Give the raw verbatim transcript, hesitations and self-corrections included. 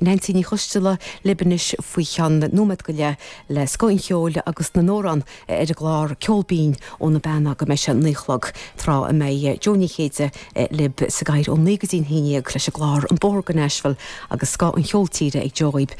Neansaí Ní Choisdealbha libh anois faoi cheann nóiméad go leith le scoth an cheoil agus na n-amhrán ar an gclár Ceol Binn óna bean go mbeidh sé naoi a chlog tráth a mbeidh Jó Ní Chéide libh sa gcathaoir ó naoi go dtí a haon déag leis an gclár An Bóthar go Nashville agus scoth an cheoil tíre ag Joe